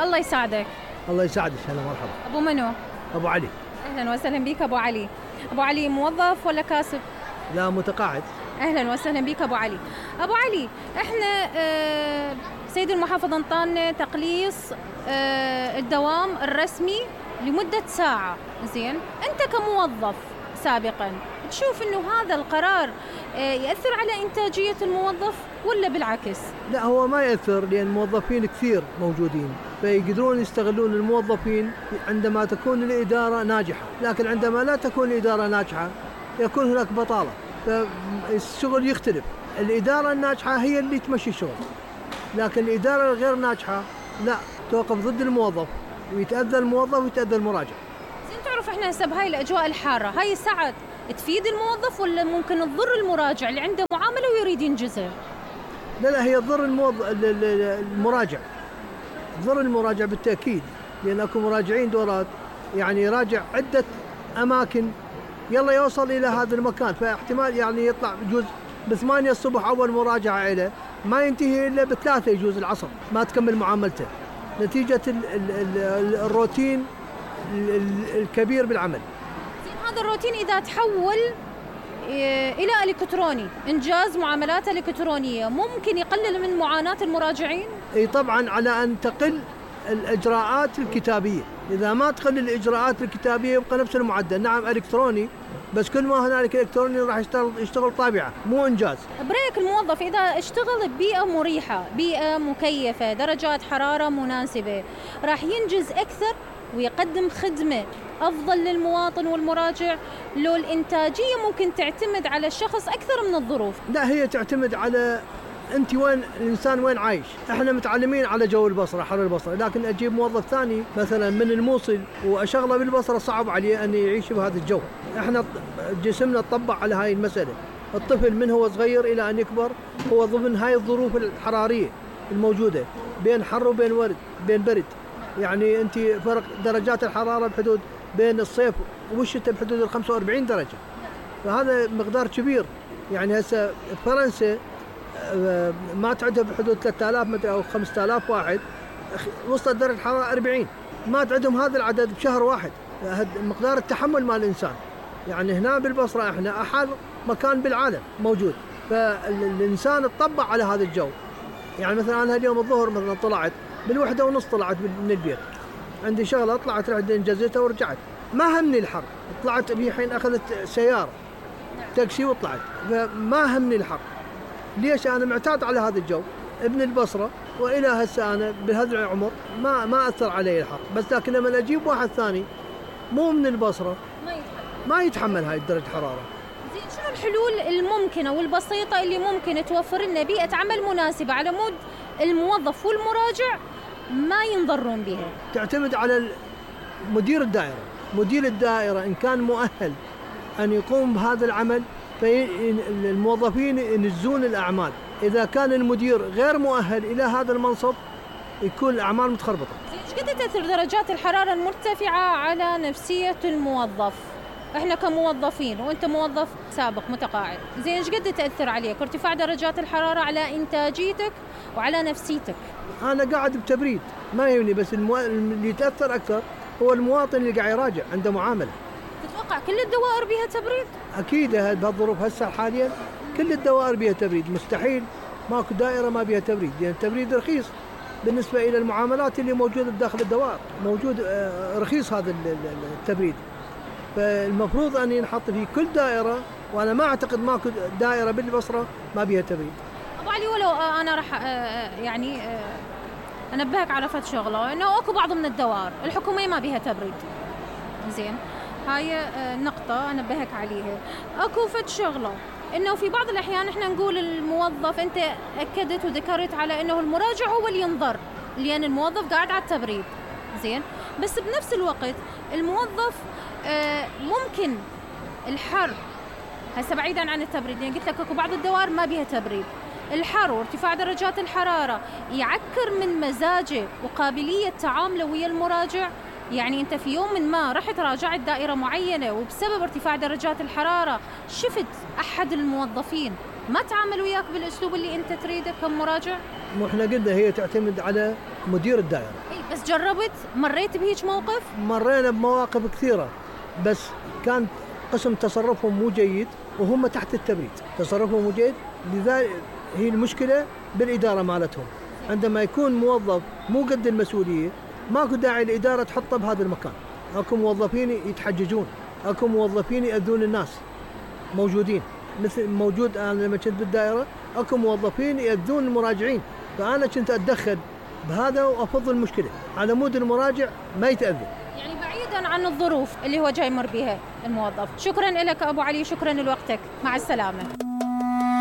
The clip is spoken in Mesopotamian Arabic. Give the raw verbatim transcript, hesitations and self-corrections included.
الله يساعدك. الله يساعدك. هلا مرحبا. ابو منو؟ ابو علي. اهلا وسهلا بك ابو علي. ابو علي موظف ولا كاسب؟ لا متقاعد. اهلا وسهلا بك ابو علي. ابو علي احنا آه سيد المحافظ انطانا تقليص آه الدوام الرسمي لمدة ساعة. زين، انت كموظف سابقا تشوف انه هذا القرار آه يأثر على انتاجية الموظف ولا بالعكس؟ لا هو ما يأثر، لأن الموظفين كثير موجودين فيقدرون يستغلون الموظفين عندما تكون الإدارة ناجحة، لكن عندما لا تكون الإدارة ناجحة يكون هناك بطالة، فالشغل يختلف. الإدارة الناجحة هي اللي تمشي الشغل، لكن الإدارة الغير ناجحة لا، توقف ضد الموظف ويتأذى الموظف ويتأذى المراجع. زين، تعرف احنا هسه بهاي الأجواء الحارة هاي الساعات تفيد الموظف ولا ممكن تضر المراجع اللي عنده معاملة ويريد ينجزها؟ لا لا، هي تضر الموظف المراجع، تضر المراجع بالتأكيد، لأن اكو مراجعين دورات يعني يراجع عدة أماكن يلا يوصل إلى هذا المكان، فاحتمال يعني يطلع بجوز بثمانية الصبح أول مراجعة إليه ما ينتهي إلا بثلاثة يجوز العصر ما تكمل معاملته، نتيجة ال ال ال الروتين الكبير بالعمل. زين، هذا الروتين إذا تحول إلى إلكتروني، إنجاز معاملات إلكترونية، ممكن يقلل من معاناة المراجعين؟ أي طبعا، على أن تقل الإجراءات الكتابية. إذا ما تقل الإجراءات الكتابية يبقى نفس المعدل. نعم إلكتروني، بس كل ما هنالك إلكتروني راح يشتغل يشتغل طابعة مو إنجاز. بريك الموظف إذا اشتغل ببيئة مريحة، بيئة مكيفة، درجات حرارة مناسبة، راح ينجز أكثر ويقدم خدمة أفضل للمواطن والمراجع. لو الإنتاجية ممكن تعتمد على الشخص أكثر من الظروف. لا، هي تعتمد على أنت وين الإنسان وين عايش. إحنا متعلمين على جو البصرة، حر البصرة، لكن أجيب موظف ثاني مثلا من الموصل وأشغله بالبصرة صعب عليه أن يعيش بهذا الجو. إحنا جسمنا تطبع على هاي المسألة. الطفل من هو صغير إلى أن يكبر هو ضمن هاي الظروف الحرارية الموجودة، بين حر وبين ورد بين برد. يعني أنت فرق درجات الحرارة بحدود بين الصيف والشتاء بحدود ال خمسة وأربعين درجة، فهذا مقدار كبير. يعني هسه فرنسا ما تعدها بحدود ثلاثة آلاف متر أو خمسة آلاف واحد، وصلت درجة الحرارة أربعين، ما تعدهم هذا العدد بشهر واحد. مقدار التحمل مال الإنسان. يعني هنا بالبصرة إحنا أحر مكان بالعالم موجود، فالإنسان تطبع على هذا الجو. يعني مثلا أنا اليوم الظهر مثلا طلعت بالوحدة ونص، طلعت من البيت عندي شغلة، طلعت رحت انجزتها ورجعت، ما همني الحر. طلعت بي حين أخذت سيارة تاكسي وطلعت، فما همني الحر. ليش؟ أنا معتاد على هذا الجو، ابن البصرة، وإلى هسه أنا بهذا العمر ما ما أثر علي الحر. بس لكن لما أجيب واحد ثاني مو من البصرة ما يتحمل ما يتحمل هاي درجة حرارة. زين، شنو الحلول الممكنة والبسيطة اللي ممكن توفر لنا بيئة عمل مناسبة على مود الموظف والمراجع ما ينضرون بها؟ تعتمد على مدير الدائرة. مدير الدائرة إن كان مؤهل أن يقوم بهذا العمل فالموظفين ينجزون الأعمال. إذا كان المدير غير مؤهل إلى هذا المنصب يكون الأعمال متخربطة. ايش قد تأثر درجات الحرارة المرتفعة على نفسية الموظف؟ احنا كموظفين وانت موظف سابق متقاعد، زين ايش قد تأثر عليك ارتفاع درجات الحرارة على إنتاجيتك وعلى نفسيتك؟ أنا قاعد بتبريد ما يهمني، بس المو... اللي يتأثر أكثر هو المواطن اللي قاعد يراجع عنده معاملة. تتوقع كل الدوائر بها تبريد؟ أكيد بهالظروف هسه حاليا كل الدوائر بها تبريد، مستحيل ماكو دائرة ما بها تبريد، لأن التبريد رخيص بالنسبة إلى المعاملات اللي موجودة داخل الدوائر، موجود رخيص هذا التبريد. فالمفروض أن ينحط في كل دائرة، وأنا ما أعتقد ماكو دائرة بالبصرة ما بها تبريد. أبو علي، ولو أنا راح يعني أنبهك على فد شغلة، إنه أكو بعض من الدوائر الحكومية ما بها تبريد. زين، هاي نقطة أنبهك عليها. أكو فد شغلة إنه في بعض الأحيان إحنا نقول الموظف، أنت أكدت وذكرت على إنه المراجع هو اللي ينضر لأن الموظف قاعد على التبريد. زين، بس بنفس الوقت الموظف آه ممكن الحر هسه بعيدا عن التبريد، يعني قلت لك اكو بعض الدوائر ما بيها تبريد، الحر وارتفاع درجات الحرارة يعكر من مزاجه وقابلية تعامله ويا المراجع. يعني انت في يوم من ما رحت راجعت دائرة معينة وبسبب ارتفاع درجات الحرارة شفت احد الموظفين ما تعامل وياك بالاسلوب اللي انت تريده كمراجع؟ مو احنا قلنا هي تعتمد على مدير الدائرة. اي بس بس جربت مريت بهيج موقف؟ مرينا بمواقف كثيرة، بس كان قسم تصرفهم مو جيد وهم تحت التبريد، تصرفهم مو جيد، لذلك هي المشكلة بالإدارة مالتهم. عندما يكون موظف مو قد المسؤولية ماكو داعي الإدارة تحطه بهذا المكان. اكو موظفين يتحججون، اكو موظفين يأذون الناس موجودين، مثل موجود انا لما كنت بالدائرة اكو موظفين يأذون المراجعين، فأنا كنت أتدخل بهذا وأفض المشكلة على مود المراجع ما يتأذى. يعني بعيدا عن الظروف اللي هو جاي يمر بها الموظف. شكرا لك أبو علي، شكرا لوقتك، مع السلامة.